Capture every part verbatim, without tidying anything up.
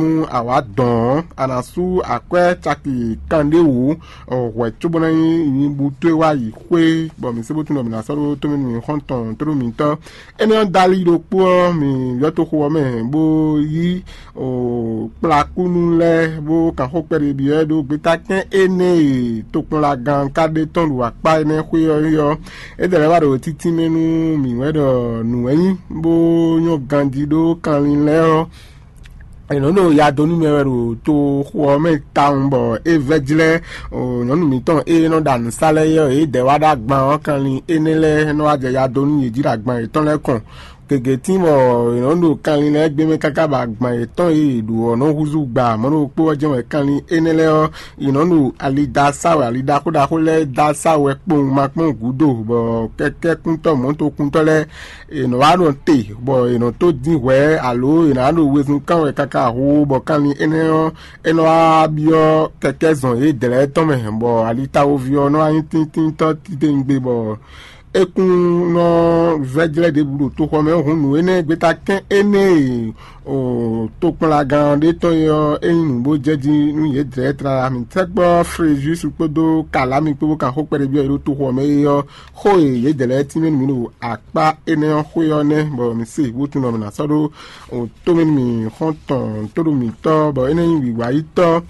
nú awǎ dɔn ɔ́, a nǎ sú akwɛ́ caki kanɖé wǒ hwɛ̌ cóbó ná nyí nyibú towe wá yi xwé, bɔ mǐ sé bó tunwun ɖɔ mǐ ná sɔ́ ɖó tómɛ nú mǐ xɔ́ntɔn tlóló mǐtɔn. Énɛ́ ɔ́, dali ɖokpó ɔ́, mǐ yɔ́ toxo ɔ́ mɛ bó yí kplakúnú lɛ́ɛ bó kan xó kpɛɖé byɔ́ ɛ ɖó gbeta kɛ́n énɛ́ e tokpɔnlagán ka ɖe tɔn ɖo akpá énɛ́ xwé ɔ́ é ɔ́, é dɛ lɛ́ wá ɖo títínmɛ nú mǐ wɛ ɖɔ nǔ wɛ nyí bó nyɔ́ ganjí ɖó kanlin lɛ́ɛ ɔ́, è nɔ ɖo ya dó nú mɛ wɛ ɖo toxo ɔ́ mɛ tawun bɔ é vɛ́ jlɛ́ nyɔ̌nu mǐtɔn e nɔ ɖo anǔ sa lɛ́ɛ é ɔ́, yě dɛ wá ɖó agban ɔ́ kanlin énɛ́ lɛ́ɛ nɔ wá jɛ ya dó nú yě jí ɖo agban yětɔn lɛ́ɛ kɔn. Gěgé tín bɔ è nɔ ɖo kanlin lɛ́ɛ gbé mɛ káká bɔ agban yětɔn e yě ɖu ɔ́ nɔ húzú gba mɔ̌ ɖokpó ɔ́ jɛ́n wɛ kanlin énɛ́ lɛ́ɛ ɔ́, yě nɔ ɖo ali da sa wɛ, ali ɖaxó ɖaxó lɛ́ɛ da sa wɛ kpowun ma kpɔ́n gǔdo, bɔ kɛkɛ́kúntɔ́ mɔ̌tokúntɔ́ lɛ́ɛ è nɔ wá ɖo te, bɔ è nɔ tó dín hwɛ̌, alo è nǎ ɖo wezun kán wɛ káká hoo, bɔ kanlin énɛ́ ɔ́, é nɔ wá byɔ́ kɛkɛ́ zɔn yědɛɛ lɛ́ɛ tɔn mɛ, bɔ alitawoví ɔ́ nɔ wá nyí tíntíntɔ́ titewungbe, bɔ é kún nɔ vɛ́ jlɛ́ ɖěbǔ ɖo toxɔ mɛ hǔn nǔ énɛ́ gbeta kɛ́n énɛ́ e tokpɔnlagán ɔ́ ɖe tɔn é ɔ́, é nyí nǔ bó jɛ jí nú yědɛɛ tlala. Mǐ tɛ́gbɔ Frejus kpódó Kalami kpó bó kan xó kpɛɖé byɔ́ yě ɖo toxɔ mɛ é ɔ́, xó e yědɛɛ lɛ́ɛ tínmɛ nú mǐ ɖo akpá énɛ́ ɔ́ xwé ɔ́ nɛ́, bɔ mǐ se wútu nɔ mǐ ná sɔ́ ɖó tomɛ nú mǐ xɔ́ntɔn tóɖo mǐtɔn, bɔ é nɛ́ nyí wǐwáyítɔ́.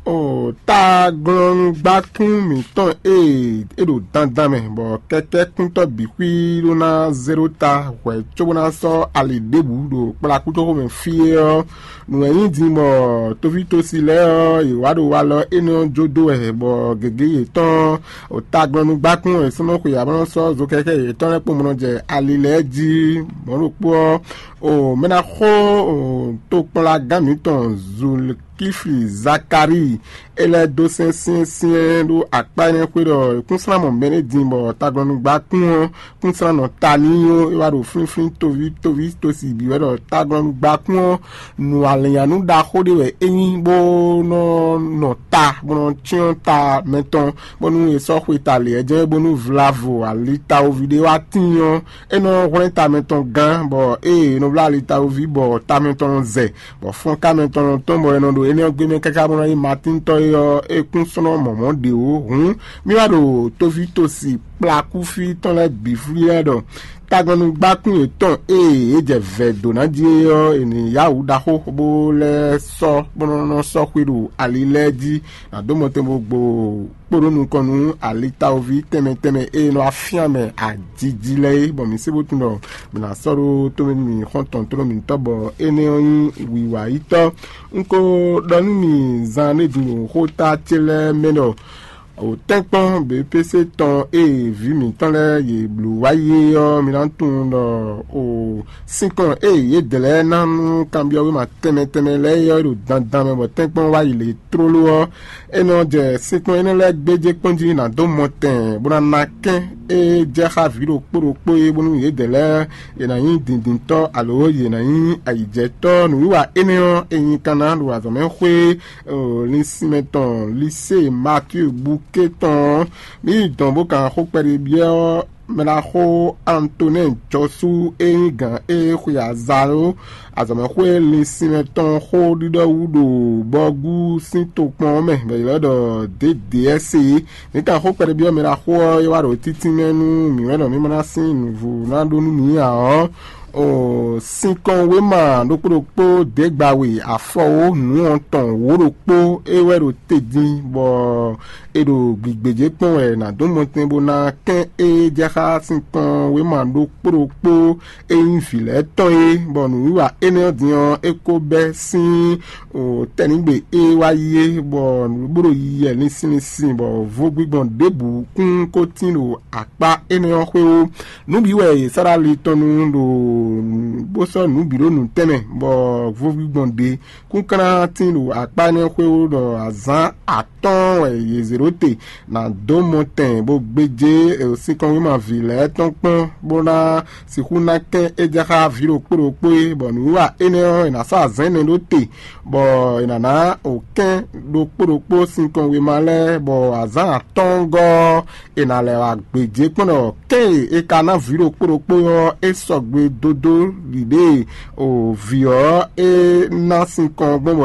O taglɔ́núgbákún mǐtɔn e é ɖo dandan mɛ, bɔ kɛkɛ́kúntɔ́ bǐ xwí ɖó ná zé ɖó ta hwɛ̌ cóbó ná sɔ́ ali ɖěbǔ ɖo kplakútoxo mɛ fí é ɔ́, nǔ e nyí din bɔ toví tosi lɛ́ɛ ɔ́, yě wá ɖo walɔ énɛ́ ɔ́ jó dó wɛ, bɔ gěgé yětɔn ɔ́, o taglɔ́núgbákún wɛ è sɔ́ nɔ xwe ǎ bó nɔ́ sɔ́ zokɛkɛ́ yětɔn lɛ́ɛ kpó mɔ nɔ jɛ ali lɛ́ɛ jí. Mɔ̌ ɖokpó ɔ́, o mɛ ná xo o tokpɔnlagán mǐtɔn Zulkifli Zakalíi é lɛ́ dó sɛn syɛ́nsyɛ́n ɖó akpá énɛ́ xwé ɖɔ kúnslán mɔ mɛ ɖé din bɔ taglɔ́núgbákún ɔ́ kúnslán nɔ ta n'i ó, é wá ɖo flínflín toví toví tosi bǐ wɛ ɖɔ taglɔ́núgbákún ɔ́, nǔ alɛ̌nyanú ɖaxó ɖé wɛ é nyí bó nɔ nɔ ta bó nɔ cyɔ́n ta mɛtɔn, bónú è sɔ́ xwe ta lě ɔ́ jɛ́n bónú vlavo ali tawoví ɖé wá tíin ɔ́, é nɔ hwlɛ́n ta mɛtɔn gán, bɔ ée é nɔ bló ali tawoví bɔ ta mɛtɔn nɔ zɛ, bɔ fɔ́nká mɛtɔn nɔ tɔ́n bɔ è nɔ ɖo énɛ́ ɔ́ gbé mɛ káká bó ná nyí Matín tɔn é ɔ́, é kún sɔ́ nɔ mɔ mɔ̌ ɖě ó. Hǔn mì wá ɖo tóví tosi kplakúfí tɔn lɛ́ɛ bǐ flí lɛ́ɛ ɖɔ taglɔ́núgbákún yětɔn e yě jɛ vɛ̌ dó ná jí é ɔ́, è nǐ yá wǔ ɖaxó bó lɛ́ sɔ́ bó nɔ́ nɔ sɔ́ xwé ɖo ali lɛ́ɛ jí, nǎ dó mɔtɛn bó gbo kpo ɖó nukɔn nú alitawoví tɛnmɛ tɛnmɛ e nɔ wá fyán mɛ ajiji lɛ́ɛ é, bɔ mǐ sé bó tunwun ɖɔ mǐ ná sɔ́ ɖó tómɛ nú mǐ xɔ́ntɔn tlóló mǐtɔn, bɔ énɛ́ ɔ́ nyí wiwa yítɔ́. Un ko ɖɔ nú mì zan ɖé din ɖo xóta ce lɛ́ɛ mɛ ɖɔ o tɛ́nkpɔ́n B P C tɔn e vǐ mǐtɔn lɛ́ɛ yě bló wá yi é ɔ́, mi ná tunwun ɖɔ o sinkɔn e yědɛɛ lɛ́ɛ ná nú kanbyɔ́wéma tɛnmɛ tɛnmɛ lɛ́ɛ é ɔ́ ɖo dandan mɛ, bɔ tɛ́nkpɔ́n wá yi lě tlóló ɔ́, é nɔ jɛ sinkɔn énɛ́ lɛ́ɛ gbéjé kpɔ́n jí ná dó mɔ tɛn bó ná ná kɛ́n e jɛ xá vǐ ɖokpó ɖokpó é, bónú yědɛɛ lɛ́ɛ yě ná nyí dǐndíntɔ́ alo yě ná nyí ayǐjɛtɔ́. Nǔwiwa énɛ́ ɔ́, è nyi kanna ɖo azɔ̌mɛxwé linsinmɛ tɔn Lisée Matíu Bukée tɔn ɔ́, mǐ yi dɔn bó kan xó kpɛɖé byɔ́ mɛɖaxó Antonɛ́ɛ Jɔsú e nyí gǎn e xwe azǎn ɖó azɔ̌mɛxwé linsinmɛ tɔn xó ɖiɖɔ wú ɖo Bɔgú sín tokpɔn ɔ́ mɛ, bɔ è ylɔ́ ɖɔ D D S é. Mǐ kan xó kpɛɖé byɔ́ mɛɖaxó ɔ́, é wá ɖo títínmɛ nú mǐ wɛ ɖɔ mǐ ma ná sín nǔvú ná ɖó nú mǐ ǎ ɔ́, o sinkɔn wéma ɖokpó ɖokpó dě gba we afɔwó nǔ ɔ́ tɔn wǒ ɖokpó é wɛ ɖo te din, bɔ è ɖo gbǐgbéjé kpɔ́n wɛ è nǎ dó mɔtɛn bó ná kɛ́n e jɛ xá sinkɔn wéma ɖokpó ɖokpó e nyí vǐ lɛ́ɛ tɔn é, bɔ nǔwiwa énɛ́ ɔ́ din ɔ́, é ko bɛ́ sín tɛ́nǐgbe e wá yi é, bɔ nǔɖuɖu ɖo yiyi wɛ linsin linsin, bɔ vodúgbɔn ɖěbǔ kún ko tín ɖo akpá énɛ́ ɔ́ xwé ó. Nǔ bǐ wɛ yě sɔ́ ɖó ali tɔn nu ɖo bó sɔ́ nǔ bǐ ɖó nǔtɛn mɛ, bɔ vodúgbɔn ɖě kúnklán tín ɖo akpá énɛ́ xwé ó ɖɔ azǎn atɔ́ɔ́n wɛ yě zě ɖó te ná dó mɔ tɛn bó gbéjé sinkɔnwímaví lɛ́ɛ tɔn kpɔ́n, bó ná sixú ná kɛ́n é jɛ xá vǐ ɖokpó ɖokpó é, bɔ nǔwiwa énɛ́ ɔ́, è nǎ sɔ́ azǎn énɛ́ ɖó te, bɔ è nǎ ná wǒ kɛ́n ɖokpó ɖokpó sinkɔnwéma lɛ́ɛ, bɔ azǎn atɔ́ɔ́ngɔ́ ɔ́, è nǎ lɛ́ wá gbějé kpɔ́n ɖɔ kɛ́n e è ka ná vǐ ɖokpó ɖokpó ɔ́, é sɔgbe dódó ɖiɖée o vǐ ɔ́ é ná sinkɔn gbɔn bɔ